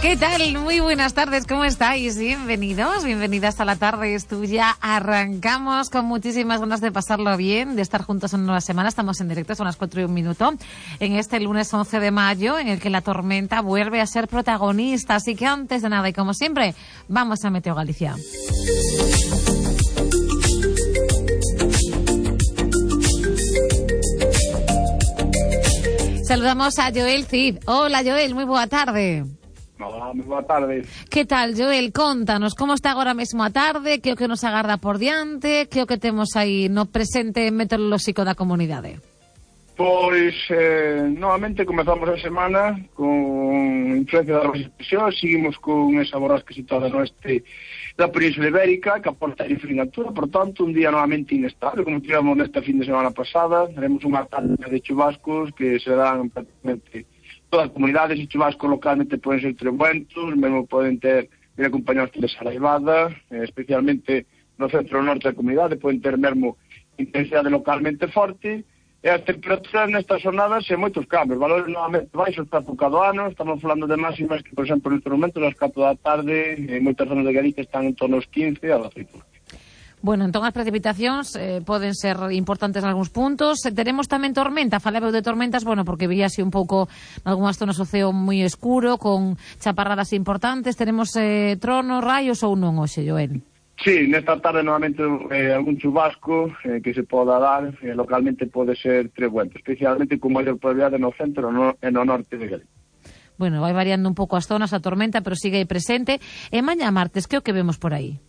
¿Qué tal? Muy buenas tardes, ¿cómo estáis? Bienvenidos, bienvenidas a La Tarde es Tuya. Arrancamos con muchísimas ganas de pasarlo bien, de estar juntos en una nueva semana. Estamos en directo, son las 4:01, en este lunes 11 de mayo, en el que la tormenta vuelve a ser protagonista. Así que antes de nada, y como siempre, vamos a Meteo Galicia. Saludamos a Joel Cid. Hola, Joel, muy boa tarde. Hola, moi boa tarde. Que tal, Joel? Contanos, como está agora mesmo a tarde, que o que nos agarda por diante, que o que temos aí no presente meteorolóxico da comunidade? Pois, novamente comezamos a semana con influencia da recesión, seguimos con esa borrasca situada no oeste da Península Ibérica, que aporta influencia, por tanto, un día novamente inestable, como tivemos nesta fin de semana pasada. Teremos unha tarde de chubascos que se dan prácticamente todas as comunidades, e chubascos localmente poden ser trebuentos, mesmo poden ter ir acompañados de saraivada, especialmente no centro norte da comunidade, poden ter mesmo intensidade localmente forte, e as temperaturas nestas jornadas en moitos cambios, valores novamente baixos para época do ano. Estamos falando de máximas que, por exemplo, neste momento, nas 4 da tarde, en moitas zonas de Galicia están en torno aos 15 a 18. Bueno, entón as precipitacións poden ser importantes en algúns puntos. Teremos tamén tormenta, falaba de tormentas, bueno, porque vi así un pouco en algunhas zonas o ceo moi escuro, con chaparradas importantes. Teremos tronos, raios ou non hoxe, Joel? Sí, nesta tarde novamente algún chubasco que se poda dar, localmente pode ser trebuento, especialmente con maior probabilidade no centro e no norte de Galicia. Bueno, vai variando un pouco as zonas, a tormenta, pero sigue aí presente. E mañá martes, que o que vemos por aí?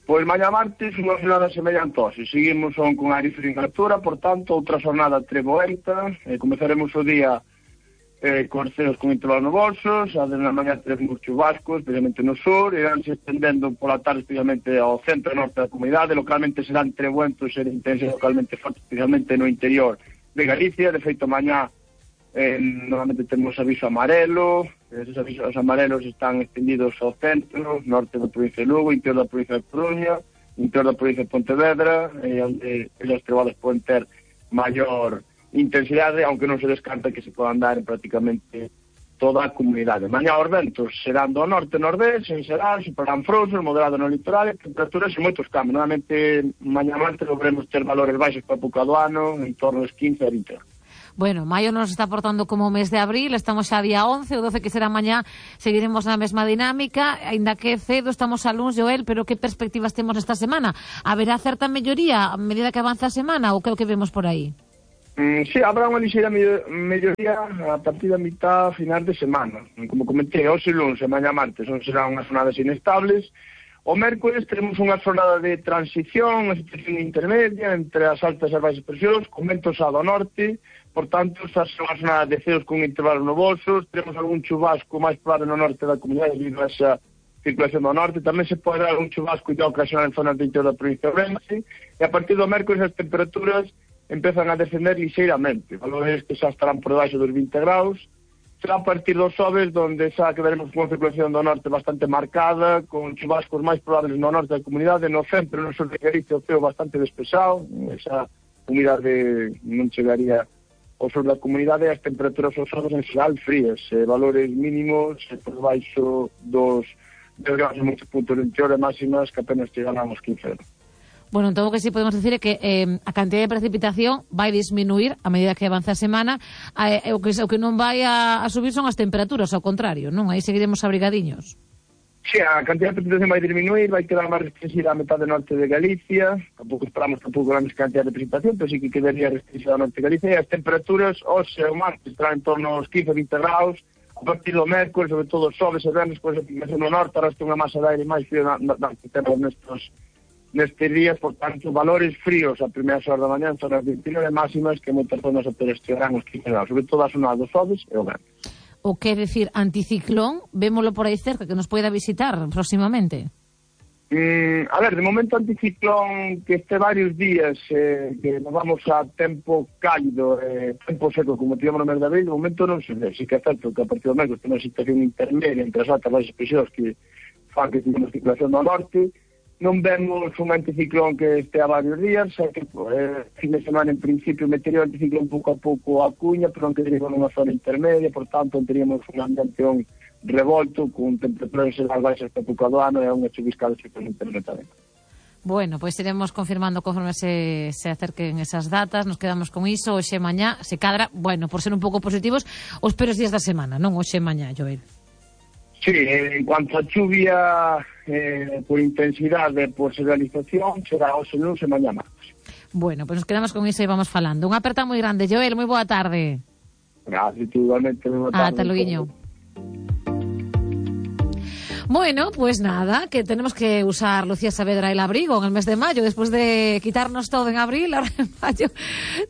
Pois mañá martes unha jornada semellantosa, seguimos con aire frío en altura, por tanto, outra jornada treboenta, comezaremos o día con ceos con intervalos nubosos, a de na mañá teremos chubascos, especialmente no sur, irán se estendendo pola tarde, especialmente ao centro e norte da comunidade, localmente serán trebuentos e de intensidade localmente forte, especialmente no interior de Galicia. De feito, mañá normalmente temos aviso amarelo, esos avisos amarelos están extendidos ao centro, norte da provincia de Lugo, interior da provincia de Coruña, interior da provincia de Pontevedra, onde as trebadas poden ter maior intensidade, aunque non se descarta que se podan dar en prácticamente toda a comunidade. Mañá os ventos serán do norte-nordés, en xeral, superarán frouxos, moderado no litoral, e temperaturas e moitos cambios. Normalmente, mañá martes logremos ter valores baixos para a época do ano, en torno aos 15 a 20. Bueno, maio nos está portando como o mes de abril, estamos xa día 11, o 12 que será mañá, seguiremos na mesma dinámica, aínda que cedo estamos a luns, Joel, pero que perspectivas temos esta semana? Haberá certa melloría a medida que avanza a semana ou que é o que vemos por aí? Sí, habrá unha lixeira melloría a partir da mitad final de semana. Como comentei, hoxe luns e mañá martes serán unhas jornadas inestables. O mércores teremos unha jornada de transición, unha situación intermedia entre as altas e as baixas presións, con ventos ao norte. Por tanto, estas son as jornadas de ceos con intervalos nubosos. Teremos algún chubasco máis probable no norte da comunidade debido a esa circulación do norte. Tamén se pode dar algún chubasco e ocasional en zonas do interior da provincia de Ourense. E a partir do mércores as temperaturas empezan a descender lixeiramente, valores que xa estarán por debaixo dos 20 graus. Será a partir dos xoves donde xa quedaremos con unha circulación do norte bastante marcada, con chubascos máis probables no norte da comunidade, no centro e no sur de Galicia o ceo bastante despexado, esa humidade non chegaría ao sur da comunidade, e as temperaturas aos xoves en xeral frías, valores mínimos por debaixo dos 10 graus en moitos puntos do interior, e máximas que apenas chegarán aos 15 graus. Bueno, entón o que sí podemos decir é que a cantidad de precipitación vai disminuir a medida que avanza a semana, o que non vai a subir son as temperaturas, ao contrario, non? Aí seguiremos abrigadiños. Sí, a cantidad de precipitación vai disminuir, vai quedar máis restringida a metade norte de Galicia, tampouco esperamos grande cantidad de precipitación, pero sí que quedaría restringida a norte de Galicia, e as temperaturas hoxe o martes estarán en torno aos 15-20 graus, a partir do mércoles, sobre todo os xoves e venres, pois a aplicación no norte, arrastra unha masa de aire máis frío que temos nestes días, por tanto, valores fríos a primeiras horas da mañá, en zonas de interior e máximas que moitas zonas estearán os 15 graus, sobre todo a zona dos xoves e o venres. O que decir, anticiclón, vémolo por aí cerca, que nos poida visitar próximamente? A ver, de momento anticiclón que este varios días que nos vamos a tempo cálido, tempo seco, como tivemos no mes de abril, de momento non se ve. Sí que é certo que a partir do mes tem unha situación intermedia entre as altas e as presións que fan que tengamos circulación do norte. Non vemos un anticiclón que este a varios días, xa que fin de semana en principio metería o anticiclón pouco a pouco a Cuña, pero non quedaría con unha zona intermedia, por tanto teríamos unha ambientación revolto, con temperaturas xeral baixas para época do ano, e unha chuviscada en internet tamén. Bueno, pois iremos confirmando conforme se acerquen esas datas, nos quedamos con iso, hoxe e mañá, se cadra, bueno, por ser un pouco positivos, os peores días da semana, non hoxe e mañá, Joel. Sí, en cuanto a chuvia por intensidade, por serialización, será hoxe lunes e mañá martes. Bueno, pois nos quedamos con iso e vamos falando. Unha aperta moi grande, Joel, moi boa tarde. Gracias, igualmente, moi boa tarde. Ata loguiño. Bueno, pues nada, que tenemos que usar Lucía Saavedra el abrigo en el mes de mayo, después de quitarnos todo en abril, ahora en mayo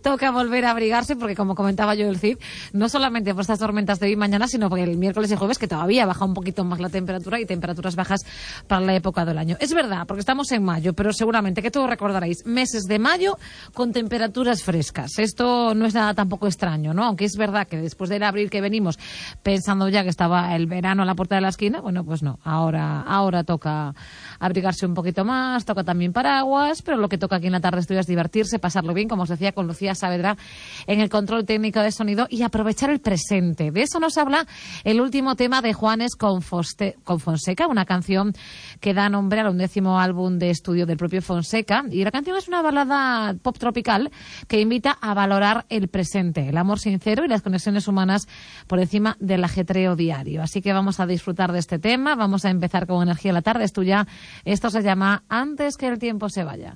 toca volver a abrigarse, porque como comentaba yo el Cid, no solamente por estas tormentas de hoy y mañana, sino porque el miércoles y jueves, que todavía baja un poquito más la temperatura, y temperaturas bajas para la época del año. Es verdad, porque estamos en mayo, pero seguramente que todos recordaréis meses de mayo con temperaturas frescas. Esto no es nada tampoco extraño, ¿no? Aunque es verdad que después del abril que venimos pensando ya que estaba el verano a la puerta de la esquina, bueno, pues no. Ahora toca abrigarse un poquito más, toca también paraguas, pero lo que toca aquí en la tarde estudio es divertirse, pasarlo bien, como os decía, con Lucía Saavedra en el control técnico de sonido, y aprovechar el presente. De eso nos habla el último tema de Juanes con Fonseca, una canción que da nombre al 11º álbum de estudio del propio Fonseca, y la canción es una balada pop tropical que invita a valorar el presente, el amor sincero y las conexiones humanas por encima del ajetreo diario. Así que vamos a disfrutar de este tema, vamos a empezar con energía la tarde, es tuya. Esto se llama Antes que el tiempo se vaya.